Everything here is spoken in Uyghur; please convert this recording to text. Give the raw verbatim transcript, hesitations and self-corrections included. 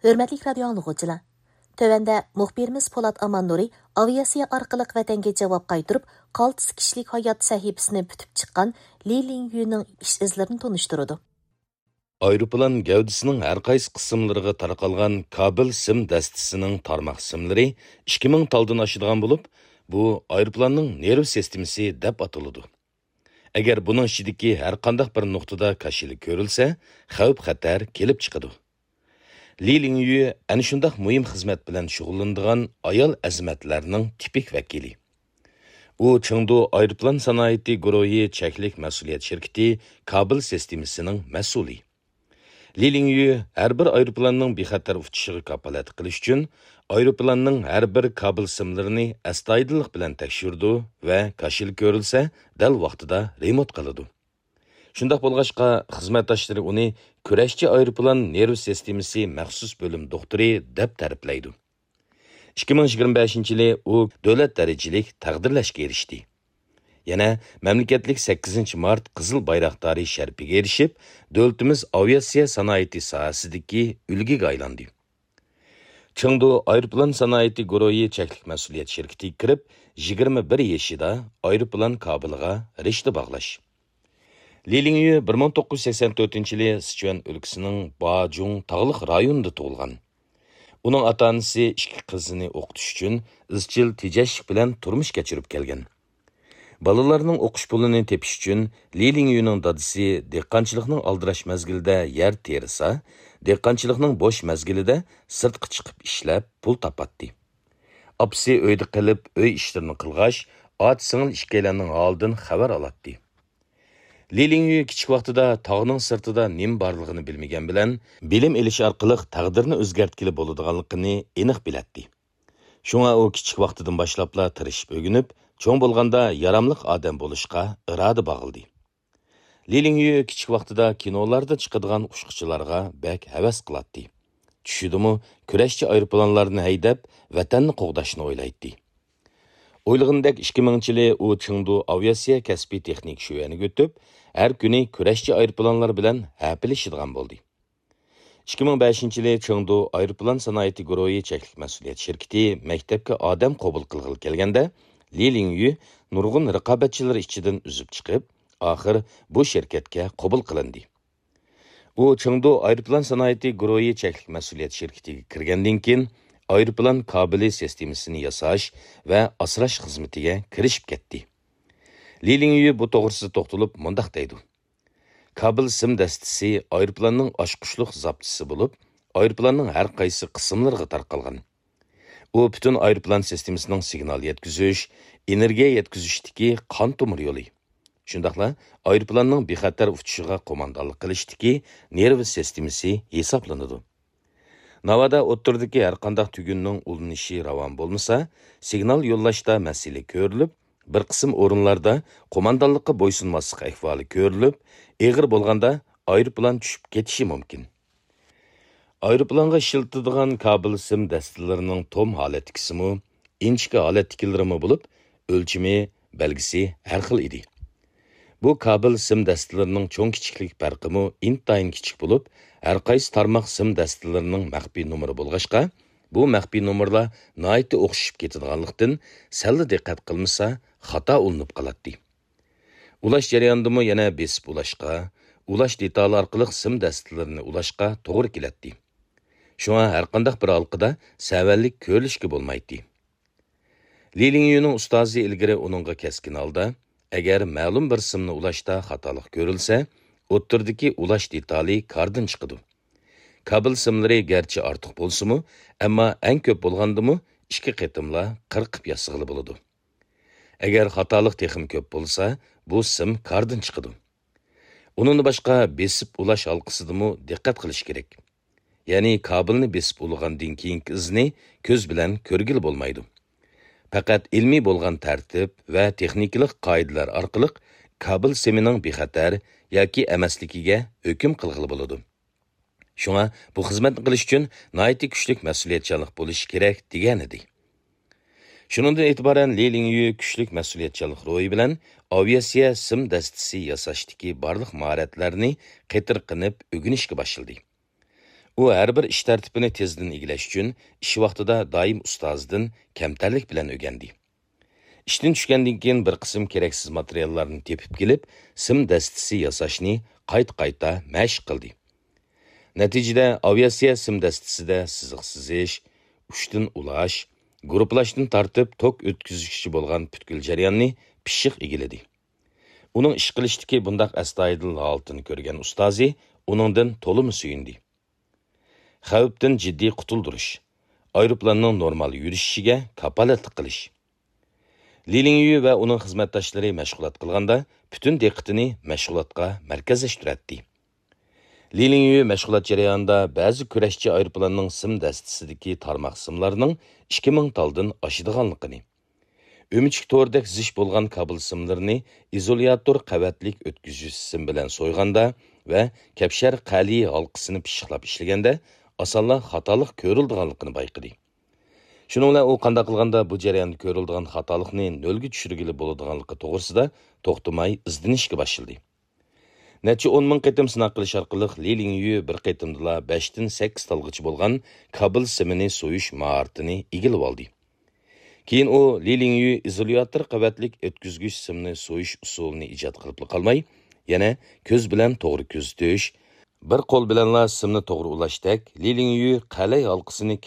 ھۆرمەتلىك رادىيو ئاڭلىغۇچىلار! تۆۋەندە مۇخبىرىمىز پولات ئاماننۇرى ئاۋىئاتسىيە ئارقىلىق ۋەتەنگە جاۋاب قايتۇرۇپ، قالتىس كىشىلىك ھايات سەھىپىسىنى پۈتۈپ چىققان لى لىڭيۈنىڭ ئىش ئىزلىرىنى تونۇشتۇرىدۇ. ئايروپىلان گەۋدىسىنىڭ ھەر قايسى قىسىملىرىغا تارقالغان كابېل سىم دەستىسىنىڭ تارماق سىملىرى ئىككى مىڭ تالدىن ئاشىدىغان بولۇپ، بۇ ئايروپىلاننىڭ نېرۋا سىستېمىسى دەپ ئاتىلىدۇ. ئەگەر بۇنىڭ ئىچىدىكى ھەر قانداق بىر نۇقتىدا كاشىلا كۆرۈلسە، خەۋپ-خەتەر كېلىپ چىقىدۇ. لى لىڭيۈ ئەنە شۇنداق مۇھىم خىزمەت بىلەن شۇغۇللىنىدىغان ئايال ئەزىمەتلەرنىڭ تىپىك ۋەكىلى. ئۇ چېڭدۇ ئايروپىلان سانائىتى گۇرۇھى چەكلىك مەسئۇلىيەت شىركىتى كابېل سىستېمىسىنىڭ مەسئۇلى. لى لىڭيۈ ھەر بىر ئايروپىلاننىڭ بىخەتەر ئۇچۇشىغا كاپالەتلىك قىلىش ئۈچۈن، ئايروپىلاننىڭ ھەر بىر كابېل سىملىرىنى ئەستايىدىللىق بىلەن تەكشۈرىدۇ ۋە كاشىلا كۆرۈلسە، دەل ۋاقتىدا رېمونت قىلىدۇ. شۇنداق بولغاچقا، خىزمەتداشلىرى ئۇنى كۈرەشچى ئايروپىلان نېرۋا سىستېمىسى مەخسۇس بۆلۈم دوختۇرى دەپ تەرىپلەيدۇ. ئىككى مىڭ يىگىرمە بەشىنچى يىلى ئۇ دۆلەت دەرىجىلىك تەقدىرلەشكە ئېرىشتى. يەنە مەملىكەتلىك سەككىزىنچى مارت قىزىل بايراقدارى شەرىپىگە ئېرىشىپ، دۆلىتىمىز ئاۋىئاتسىيە سانائىتى ساھەسىدىكى ئۈلگىگە ئايلاندى. چېڭدۇ ئايروپىلان سانائىتى گۇرۇھى چەكلىك مەسئۇلىيەت شىركىتىگە كىرىپ، يىگىرمە بىر يېشىدا ئايروپىلان كابېلىغا رىشتە باغلاش. لى لىڭيۈ بىر مىڭ توققۇز يۈز سەكسەن تۆتىنچى يىلى سىچۈەن ئۆلكىسىنىڭ باجۇڭ تاغلىق رايونىدا تۇغۇلغان. ئۇنىڭ ئاتا-ئانىسى ئىككى قىزىنى ئوقۇتۇش ئۈچۈن ئىزچىل تېجەشلىك بىلەن تۇرمۇش كەچۈرۈپ كەلگەن. بالىلارنىڭ ئوقۇش پۇلىنى تېپىش ئۈچۈن لى لىڭيۈنىڭ دادىسى دېھقانچىلىقنىڭ ئالدىراش مەزگىلىدە يەر تېرىسا، دېھقانچىلىقنىڭ بوش مەزگىلىدە سىرتقا چىقىپ ئىشلەپ پۇل تاپاتتى. ئاپىسى ئۆيدە قېلىپ، ئۆي ئىشلىرىنى قىلغاچ، ئاچا-سىڭىل ئىككىيلەننىڭ ھالىدىن خەۋەر ئالاتتى. لى لىڭيۈ كىچىك ۋاقتىدا تاغنىڭ سىرتىدا نېمە بارلىقىنى بىلمىگەن بىلەن، بىلىم ئېلىش ئارقىلىق تەقدىرنى ئۆزگەرتكىلى بولىدىغانلىقىنى ئېنىق بىلەتتى. شۇڭا ئۇ كىچىك ۋاقتىدىن باشلاپلا تىرىشىپ ئۆگىنىپ، چوڭ بولغاندا ياراملىق ئادەم بولۇشقا ئىرادە باغلىدى. لى لىڭيۈ كىچىك ۋاقتىدا كىنولاردا چىقىدىغان ئۇچقۇچىلارغا بەك ھەۋەس قىلاتتى. چۈشىدىمۇ كۈرەشچى ئايروپىلانلارنى ھەيدەپ، ۋەتەننى قوغداشنى ئويلايتتى. ئويلىغىنىدەك ئىككى مىڭىنچى يىلى ئۇ چېڭدۇ ئاۋىئاتسىيە كەسپىي تېخنىكا شۆۋەنىگە ئۆتۈپ، ھەر كۈنى كۈرەشچى ئايروپىلانلار بىلەن ھەپىلىشىدىغان بولدى. ئىككى مىڭ بەشىنچى يىلى چېڭدۇ ئايروپىلان سانائىتى گۇرۇھى چەكلىك مەسئۇلىيەت شىركىتى مەكتەپكە ئادەم قوبۇل قىلغىلى كەلگەندە، لى لىڭيۈ نۇرغۇن رىقابەتچىلىرى ئىچىدىن ئۈزۈپ چىقىپ، ئاخىر بۇ شىركەتكە قوبۇل قىلىندى. ئۇ چېڭدۇ ئايروپىلان سانائىتى گۇرۇھى چەكلىك مەسئۇلىيەت شىركىتىگە كىرگەندىن كېيىن، ئايروپىلان كابېلى سىستېمىسىنى ياساش ۋە ئاسراش خىزمىتىگە كىرىشىپ كەتتى. لى لىڭيۈ بۇ توغرىسىدا توختىلىپ مۇنداق دەيدۇ: كابېل سىم دەستىسى ئايروپىلاننىڭ ئاچقۇچلۇق زاپچىسى بولۇپ، ئايروپىلاننىڭ ھەر قايسى قىسىملىرىغا تارقالغان. ئۇ پۈتۈن ئايروپىلان سىستېمىسىنىڭ سىگنال يەتكۈزۈش، ئېنېرگىيە يەتكۈزۈشتىكى قان تومۇر يولى، شۇنداقلا ئايروپىلاننىڭ بىخەتەر ئۇچۇشىغا قوماندانلىق قىلىشتىكى نېرۋا سىستېمىسى ھېسابلىنىدۇ. ناۋادا ئوتتۇرىدىكى ھەرقانداق تۈگۈننىڭ ئۇلىنىشى راۋان بولمىسا، سىگنال يوللاشتا مەسىلە كۆرۈلۈپ، بىر قىسىم ئورۇنلاردا قوماندانلىققا بويسۇنماسلىق ئەھۋالى كۆرۈلۈپ، ئېغىر بولغاندا ئايروپىلان چۈشۈپ كېتىشى مۇمكىن. ئايروپىلانغا ئىشلىتىدىغان كابېل سىم دەستىلىرىنىڭ توم ھالەتتىكىسىمۇ، ئىنچىكە ھالەتتىكىلىرىمۇ بولۇپ، ئۆلچىمى، بەلگىسى ھەر خىل ئىدى. بۇ كابېل سىم دەستىلىرىنىڭ چوڭ كىچىكلىك پەرقىمۇ ئىنتايىن كىچىك بولۇپ، ھەر قايسى تارماق سىم دەستىلىرىنىڭ مەخپىي نومۇرى بولغاچقا، بۇ مەخپىي نومۇرلار ناھايىتى ئوخشىشىپ كېتىدىغانلىقتىن، سەللا دىققەت قىلمىسا، خاتا ئۇلىنىپ قالاتتى. ئۇلاش جەريانىدىمۇ يەنە بېسىپ ئۇلاشقا، ئۇلاش دېتالى ئارقىلىق سىم دەستىلىرىنى ئۇلاشقا توغرا كېلەتتى. شۇڭا ھەرقانداق بىر ھالقىدا سەۋەنلىك كۆرۈلۈشكە بولمايتتى. لى لىڭيۈنىڭ ئۇستازى ئىلگىرى ئۇنىڭغا كەسكىن ھالدا، ئەگەر مەلۇم بىر سىمنى ئۇلاشتا خاتالىق كۆرۈلسە، ئوتتۇرىدىكى ئۇلاش دېتالى كاردىن چىقىدۇ. كابېل سىملىرى گەرچە ئارتۇق بولسىمۇ، ئەمما ئەڭ كۆپ بولغاندىمۇ ئىككى قېتىملا قىرقىپ ياسىغىلى بولىدۇ. ئەگەر خاتالىق تېخىمۇ كۆپ بولسا، بۇ سىم كاردىن چىقىدۇ. ئۇنىڭدىن باشقا بېسىپ ئۇلاش ھالقىسىدىمۇ دىققەت قىلىش كېرەك. يەنى كابېلنى بېسىپ ئۇلىغاندىن كېيىنكى ئىزنى كۆز بىلەن كۆرگىلى بولمايدۇ. پەقەت ئىلمىي بولغان تەرتىپ ۋە تېخنىكىلىق قائىدىلەر ئارقىلىق كابېل سىمىنىڭ بىخەتەر ياكى ئەمەسلىكىگە ھۆكۈم قىلغىلى بولىدۇ. شۇڭا بۇ خىزمەتنى قىلىش ئۈچۈن ناھايىتى كۈچلۈك مەسئۇلىيەتچانلىق بولۇشى كېرەك، دېگەنىدى. شۇنىڭدىن ئېتىبارەن لى لىڭيۈ كۈچلۈك مەسئۇلىيەتچانلىق روھى بىلەن ئاۋىئاتسىيە سىم دەستىسى ياساشتىكى بارلىق ماھارەتلەرنى قېتىرقىنىپ ئۆگىنىشكە باشلىدى. ئۇ ھەر بىر ئىش تەرتىپىنى تېزدىن ئىگىلەش ئۈچۈن ئىش ۋاقتىدا دائىم ئۇستازىدىن كەمتەرلىك بىلەن ئۆگەندى. ئىشتىن چۈشكەندىن كېيىن بىر قىسىم كېرەكسىز ماتېرىياللارنى تېپىپ كېلىپ، سىم دەستىسى ياساشنى قايتا-قايتا مەشىق قىلدى. نەتىجىدە، ئاۋىئاتسىيە سىم دەستىسىدە سىزىق سىزىش، ئۇچتىن ئۇلاش، گۇرۇپپىلاشتىن تارتىپ توك ئۆتكۈزگۈچىچە بولغان پۈتكۈل جەرياننى پىششىق ئىگىلىدى. ئۇنىڭ ئىش قىلىشتىكى بۇنداق ئەستايىدىل ھالىتىنى كۆرگەن ئۇستازى ئۇنىڭدىن تولىمۇ سۆيۈندى. خەۋپتىن جىددىي قۇتۇلدۇرۇش، ئايروپىلاننىڭ نورمال يۈرۈشۈشىگە كاپالەتلىك قىلىش. لى لىڭيۈ ۋە ئۇنىڭ خىزمەتداشلىرى مەشغۇلات قىلغاندا، پۈتۈن دىققىتىنى مەشغۇلاتقا مەركەزلەشتۈرەتتى. لى لىڭيۈ مەشغۇلات جەريانىدا بەزى كۈرەشچى ئايروپىلاننىڭ سىم دەستىسىدىكى تارماق سىملارنىڭ ئىككى مىڭ تالدىن ئاشىدىغانلىقىنى، ئۆمۈچۈك تورىدەك زىچ بولغان كابېل سىملىرىنى ئىزولياتور قەۋەتلىك ئۆتكۈزگۈچ سىم بىلەن سويغاندا ۋە كەپشەر قەلىي ھالقىسىنى پىششىقلاپ ئىشلىگەندە ئاسانلا خاتالىق كۆرۈلىدىغانلىقىنى بايقىدى. شۇنىڭ بىلەن ئۇ قانداق قىلغاندا بۇ جەرياندا كۆرۈلىدىغان خاتالىقنى نۆلگە چۈشۈرگىلى بولىدىغانلىقى توغرىسىدا توختىماي ئىزدىنىشكە باشلىدى. نەچچە ئون مىڭ قېتىم سىناق قىلىش ئارقىلىق لى لىڭيۈ بىر قېتىمدىلا بەشتىن سەككىز تالغىچە بولغان كابېل سىمىنى سويۇش ماھارىتىنى ئىگىلىۋالدى. كېيىن ئۇ لى لىڭيۈ ئىزولياتور قەۋەتلىك ئۆتكۈزگۈچ سىمنى سويۇش ئۇسۇلىنى ئىجاد قىلىپلا قالماي، يەنە كۆز بىلەن توغرا كۆزىتىش، بىر قول بىلەنلا سىمنى توغرا ئۇلاشتەك لى لىڭيۈ قەلەي ھالقىسىنى